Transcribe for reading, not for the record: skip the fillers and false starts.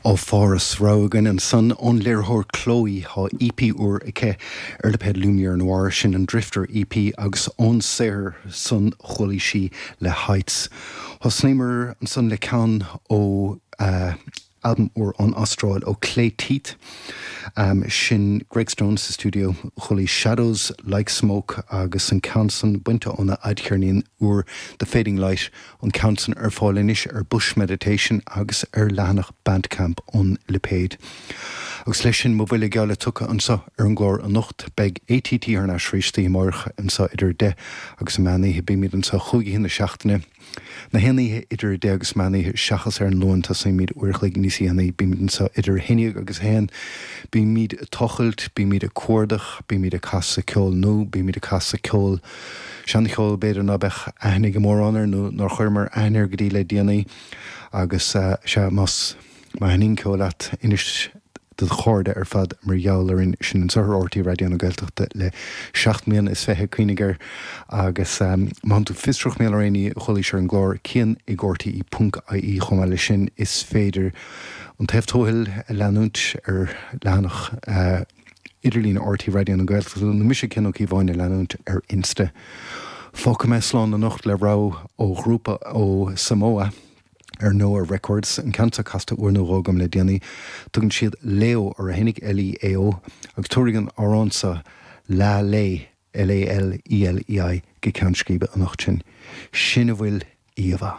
Ó Pháras. Rogha againn ansan ón léiritheoir Chloe. Tá EP úr aici ar lipéad Lumière Noire, sin an Drifter EP agus ón saothar san chualaidh sí Le Heights. Thosnaíomar ansan le ceann ó albam úr ón Astráil ó Clay Teeth. Sin Greg Stone sa stiúideo. Chualaidh Shadows Like Smoke agus an ceann san bainte óna fhadcheirnín úr The Fading Light. An ceann san ar fáil anois ar Bush Meditation agus ar leathanach Bandcamp an lipéid. Agus leis sin, mo bhuille geall le tugtha anso ar an gclár anocht. Beidh ATT thar n-ais arís oíche amáireach anso idir 10 agus an meán oíche. Bímid anso chúig oíche na seachtaine. Na haon oíche idir 10 agus meán oíche seachas ar an Luan tosaímid uair a chloig níos dhéanaí. Bímid anso idir 11 agus 1. Bímid ag tochailt, bímid ag cuardach, bímid ag casadh ceol nua, bímid ag casadh ceol Seancheol b'fhéidir ná beadh aithne ag mórán air nó nár chuireamar aithne air go dtí le déanaí agus sea, más má thaitníonn ceol leat, inis do do chairde ar fad mar gheall orainn. Sinn anseo ar RTÉ Raidió na Gaeltachta le 27 mbliana, cuimhnigh air agus má tánn tú fiosrach mar gheall ar aon ní a chualaís ar an gclár, cian ag rte ponc ie chomh maith leis sin is féidir An Taobh Tuathail a leanúint ar leathanach idirlín RTÉ Raidió na Gaeltachta nó mise Cian Ó Cíobháin a leanúint ar Insta. Fágfaidh mé slán anocht le rogha ó ghrúpa ó Samoa ar Noa Records, an ceann seo casta uair nó dhó agam le déanaí. Tugann siad Leao orthu fhéinig, L-E-A-O, agus tabharfaidh an amhrán seo La Lei, L-A-L-E-L-E-I, go ceann scríbe anocht sinn. Sin a bhfuil íomhá.